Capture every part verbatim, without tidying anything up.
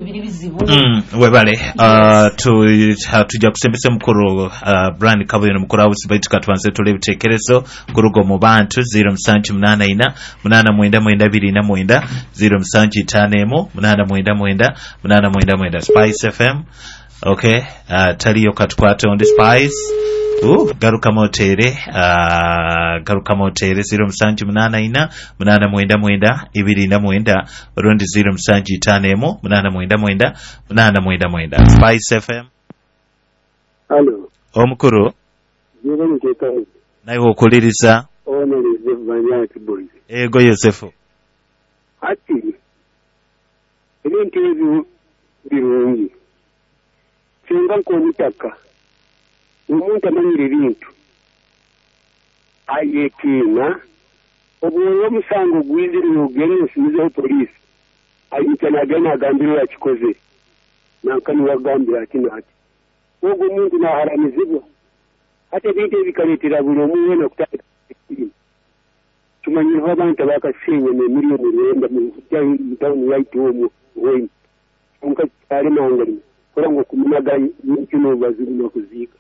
Biri bizibu. Mm, webale. uh, tu, uh, tujja kusembesa mukuru uh, Brian Kabuye nomukuru House, baitu katubanze tule ebitekerezo kuruga omu bantu. zero musanju munaana ina munaana mwenda mwenda abiri na mwenda, zero musanju itaano emu munaana mwenda mwenda munaana mwenda mwenda. Spice F M. Okay, uh, taliyo, katukwate ondi. Spice, Uh, garukamu oteere, uh, garukamu oteere zero musanju munaana ina munaana mwenda mwenda ibiri na mwenda orundi zero musanju itaano emu munaana mwenda mwenda munaana mwenda mwenda. Spice F M. Halo. Omukuru. Jebe nitekaho. Nawe okuliriza. Ono Yosefu Banyaki Boys. Ego Yosefu. Ati ebintu ebyo birungi. Singa nk'omutaka, omuntu amanyire ebintu ayetiina obwoyo omusango gwizire nogenda osumizeho poliisi, ayita nagenda nagambira yakikoze nanka niwagambira ati nati ogwo omuntu naharamizibwa. Hati ebintu ebi bikareetera buli omu weena kutandika ekitiina. Tumanyireho abantu abakasenya n'emiliyoni rwenda mu tawuni yaitu omwo Hoima, konka kyalemanganya kora ngu okumunaga nkino bazirina kuziika.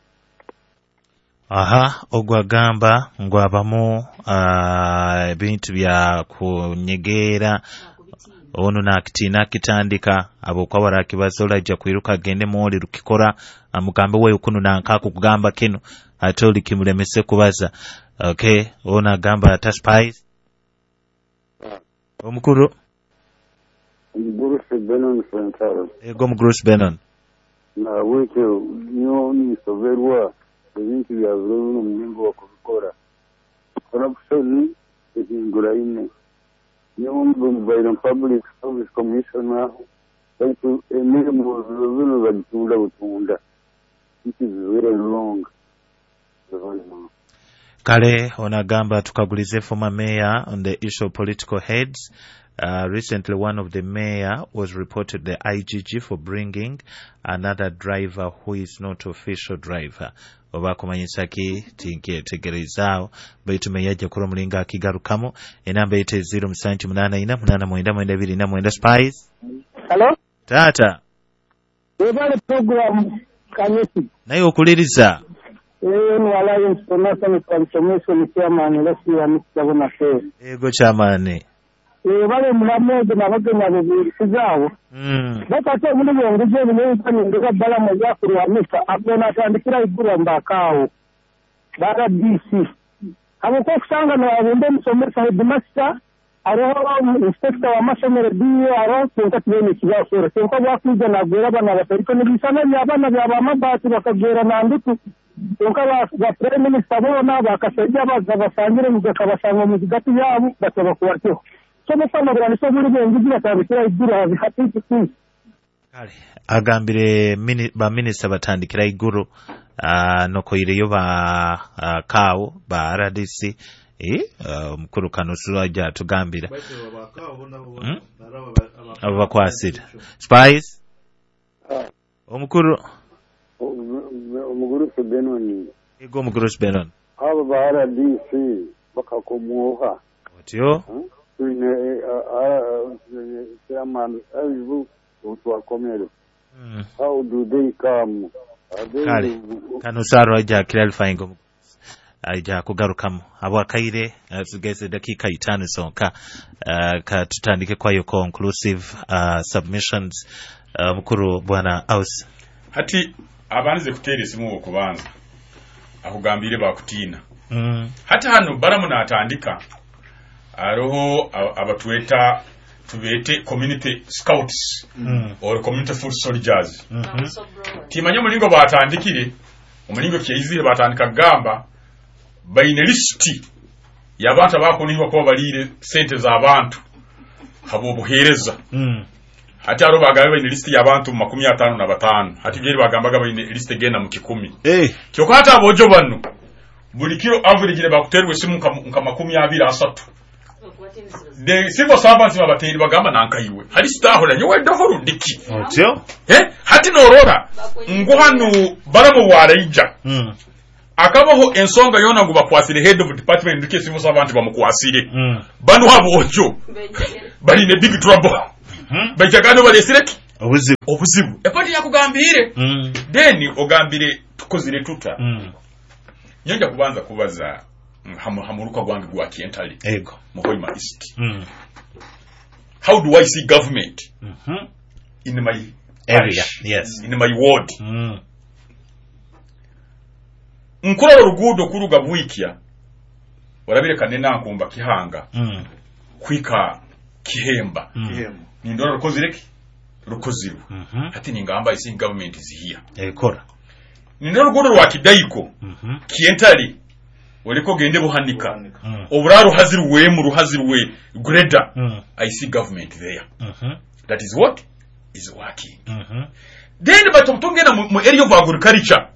Aha, ogwo agamba ngu abamu ah, ebintu bya kunyegeera ono nakitiina akitandika habwokuba barakibaza olajja kwiruka agende mwoli rukikora amugambe wewe kunu nanka kugamba kinu ate oli kimulemese kubaza. Okay, ono agamba ata. Spice, omukuru. Omugurusi Benon Sentaro. Ego, omugurusi Benon. Nahabwekyo nyowe ninsoberwa ebintu bya biro bino omulingo bakubikora. Corruption ehinguraine. Nyowe mbaire public service commissioner, baitu emirimu biro bino bagitunda butunda, which is very wrong. Kale ono agamba tukagulize former mayor on the issue of political heads. Uh, recently, one of the mayor was reported the I G G for bringing another driver who is not official driver. Oba kumanyisa ki tinkyetegerezaawo, baitu meya ajja kuba omulingo akigarukamu. Enamba yete zero musanju munaana ina munaana mwenda mwenda abiri na mwenda. Spice. Hello? Taata. Webale program, Kanyesi. Naye okuliriza. Eno Alliance for National Transformation chairman Leslie Amikisabona Fe. Ego kyamaani. Webale mulamu ogo n'abagenyi abo buulisizaawo. Mm. Bakate omuli bwenguzi ebinebikanyingiza bbalamu ebyakulwamisa agona atandikira iguru mbakaawo ba R D C habwokuba okusanga nabumba omusomesa headmaster, hariho inspector w'amasomero diyo hariho, kyonka tibeine ekibakora, kyonka bwakwija nagwera abana batariko nibisana by'abaana byabamabaati bakagwera nandutu, kyonka ba- ba prime minister boona bakashaija basangire bakabasanga omu zigati yaabo batabakwatyeho. So mukwamaguranisa obuli bwenguzi batandikira iguru habihatiikikuzi. Kale agambire mini, baminisita batandikira iguru, uh, nokoireyo ba uh, kawo ba R D C, eh, uh, omukuru Kanusu ajja atugambira Mm? Abo bakwasira. Spice, omukuru. Omugurusi Benoni. Ego, omugurusi Benon. Abo ba R D C bakakomwoha. Otyo. Twine chairman abibu twakomere. Mm. How do they come? Are they Kale Kanusu ajja clarifying, aija kugarukamu habwakaire. uh, tugeze dakiika itaano zonka, uh, ka tutandike kwayo conclusive uh, submissions. uh, mukuru bwana Aus. Hati abanze kuteera esimu okubanza akugambire bakutiina. mm. Hati hano baramu natandika hariho aba- abatweta tubeete community scouts Mm. or community foot soldiers. Mm -hmm. Timanye omulingo batandikire, omulingo kyeizire batandika kugamba baine lisiti y'abantu abakunihibwa kuba baliire sente z'abantu habw'obuheereza. Mm. Hati hariho bagambe baine lisiti y'abantu makumi ataano na bataano, hati geri bagambaga baine lisiti egenda mu kikumi. Hey. Kyokka hati aboojo bano buli kiro average bakuterwa esimu nka, nka makumi abiri asatu. The civil servants babateeri bagamba nankaiwe hari sitahora nyowe ndaho rundiki. Otyo. Eh, hati norora ngu hano baramu waraija mm. akabaho ensonga yona ngu bakwasire head of department ndike civil servant bamukwasire. Mm. Bano abojo bali in a big trouble. Mm. Baijagano balesireki. Obuzibu. Obuzibu epati yakugambire. Mm. Then ogambire tukozire tuta. Mm. Nyanja kubanza kubaza hamu, hamuruka gwange gwa Kientale. Ego. Mu Hoima East. Mm. How do I see government mm -hmm. in my area? Yes. In my ward. Mm. Nkurora oruguudo kuruga Bwikya orabire kanena nkumba Kihanga. Mm. Kwika Kihemba. Mm. Nindora rukozire ki? Rukozirwe. Mm -hmm. Hati ningamba I see government is here. Ekora. Nindora oruguudo rwa Kidaiko. Mm -hmm. Kientale oliko gende Buhanika. Mm. Obura ruhazirwe mu ruhazirwe greda. Mm. I see government there. Mm -hmm. That is what is working. Mm -hmm. Then but tungena mu area of agriculture.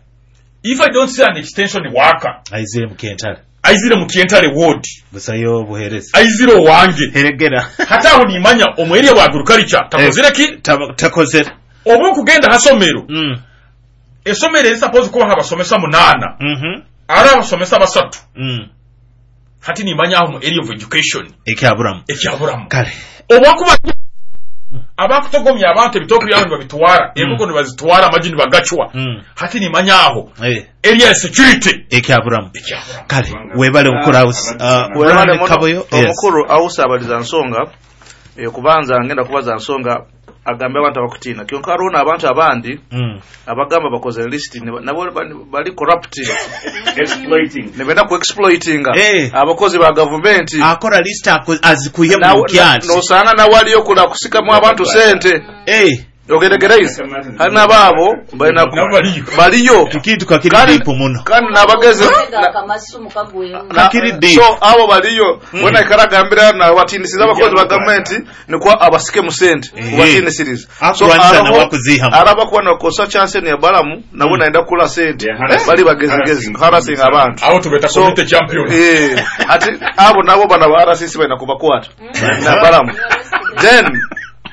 If I don't see an extension worker, aizire mu Kientale. Aizire mu Kientale ward. Busayo buhereza. Aizire wange. Heregera. Hata aho nimanya omu area wa agriculture takozire ki? Takozire. Obu kugenda hasomero. Mm. Esomero eri suppose kuba habasomesa munana. Mhm. Mm Ara abasomesa basatu. Mm. Hati nimanya aho mu area of education. Ekyaburamu. Ekyaburamu. Kale. Obwakuba abakutogomya abantu ebitooke byabo nibabitwara, mm. Enkoko nibazitwara, amagi nibagacwa. Mm. Hati nimanya aho. Eh. Area security. Ekyaburamu. Ekyaburamu. Kale webale mukuru house. Uh, webale Kaboyo. Omukuru house abaliza nsonga e, kubanza ngenda kubaza nsonga agambe abantu abakutina kyonka hariho n'abantu abandi mm. abagamba bakoze list nabo bali corrupt exploiting nibenda ku exploitinga hey. Abakozi ba government akora list azikuye mu kyati nosanga na waliyo kula kusikamu abantu sente hey. ogeregeraize hari n'ababo balina baliyo kikintu kakiri deep muno kandi nabageze kakiri deep so abo baliyo wena ikaragambira na batinisiza abakozi ba government nikwa abasike mu sente kubatinisiriza so araba kuba nakosa chance ni balamu nabo naenda kula sente bali bagezegeze harassing abantu abo tubeta community champion eh ati abo nabo bana ba R C C balina kubakwata na balamu then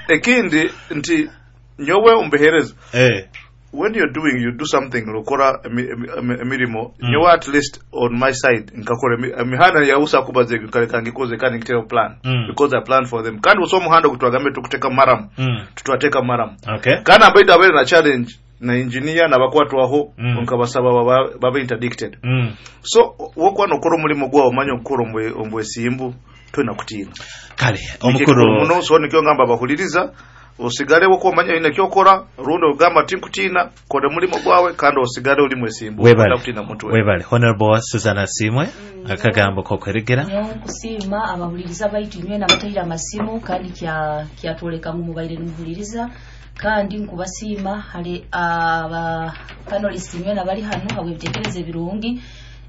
ekindi nti nyowe umbehereza eh when you're doing you do something rukora emirimo mm. Nyowe at least on my side nkakora emihanda yausa kubaze nkaleka ngikoze kandi ngitero plan mm. because I plan for them kandi uso muhanda kutwagambe tukuteka maram mm. tutwateka maram okay kandi abaida abere na challenge na engineer nabakwatwaho mm. nkabasaba baba, baba interdicted mm. so wokwa nokora omulimo gwawo manya okukora ombwesimbu twena kutiina kale omukuru muno so nikyo ngamba bahuliriza osigale woko omanya ine kyokora rundi ogamba tinkutina kode mulimo gwawe kandi osigale oli mwesimbu webale webale Honorable Susanna Simwe mm. Akagambo kokweregera nkusiima abahuliriza baitu nywe nabatahira amasimu kandi kya kyatoleka mu mubaire numuhuliriza kandi nkubasiima hali aba panelist nywe nabali hano habwe bitekereze birungi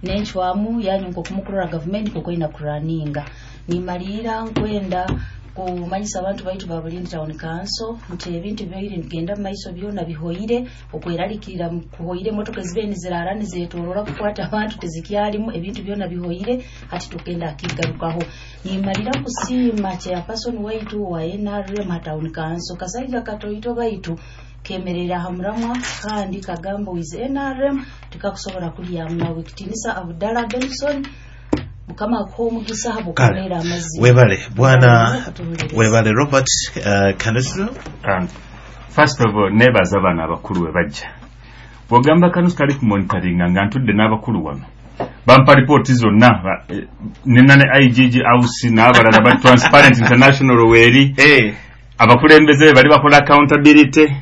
nenchwamu yanyu nkokumukurora government kokoina kuraninga nimalira nkwenda kumanyisa abantu baitu ba Bulindi Town Council nti ebintu byaire nigenda mu maiso byona bihoire okweralikirira kuhoire motoka zibe nizirara nizetorora kukwata abantu tezikyalimu ebintu byona bihoire hati tukenda akigarukaho nimalira kusiima chairperson waitu wa N R M Town Council kasaija katoito baitu kemerera hamuramwa kandi kagamba with N R M tukakusobola kulya mnawe kitinisa Abdallah Benson mukama akomugisa habo kamera amazzi webale bwana webale Robert uh, Kanusu. Um, first of all nebaza bana abakulu we bajja bwogamba Kanusu tali ku monitoring nga ntudde n'abakulu wano bampa ripooti zonna eh, nina ne I G G house n'abalala ba Transparent International weeri hey. Abakulembeze bali bakola accountability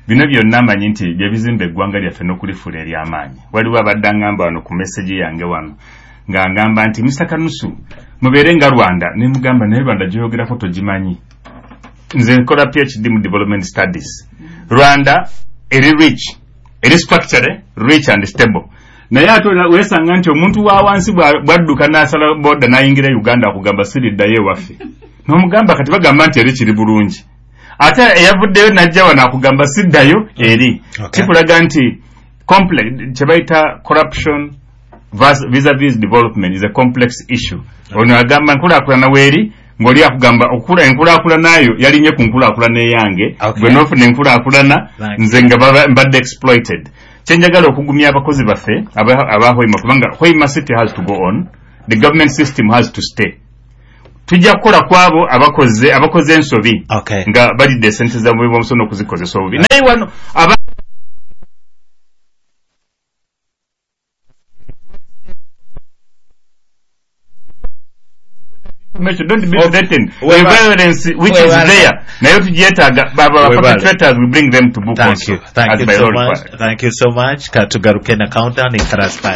bino byonna manyi nti bye bizimba eggwanga lyaffe n'okulifuula ery'amaanyi. Waliwo abadde angamba wano ku message yange wano nga ngamba nti Mister Kanusu mubeere nga Rwanda ne mugamba naye Rwanda gyoyogerako togimanyi. Nze nkola P H D mu development studies. Rwanda eri rich, eri structure rich and stable. Naye ate weesanga nti omuntu wa wansi bwadduka n'asala boda n'ayingira Uganda akugamba siriddayo ewaffe. N'omugamba kati bagamba nti eri kiri bulungi. Ate eyavuddeyo n'ajja wano akugamba siddayo eri. Kikulaga nti complex kye bayita corruption vis-a-vis development is a complex issue. Ono agamba nkulaakulana weeri ng'oli akugamba okula enkulaakulana yo yalinye ku nkulaakulana eyange gwe n'ofuna enkulaakulana nze nga mbadde exploited. Kyenjagala okugumya abakozi baffe aba Hoima kubanga Hoima City has to go on, the government system has to stay. Tujja kukola kwabo abakoze abakoze ensobi Okay. nga balidde esente za muwi w'omusolo n'okuzikozesa obubi, naye wano aba don't be threatened. The Webale. Violence which is Webale. there nayo tugyetaaga. Baba Webale. Perpetrators, we bring them to book Thank also you. Thank as you by so law much. required. Thank you so much. Katugaruke na countdown in Karaspai.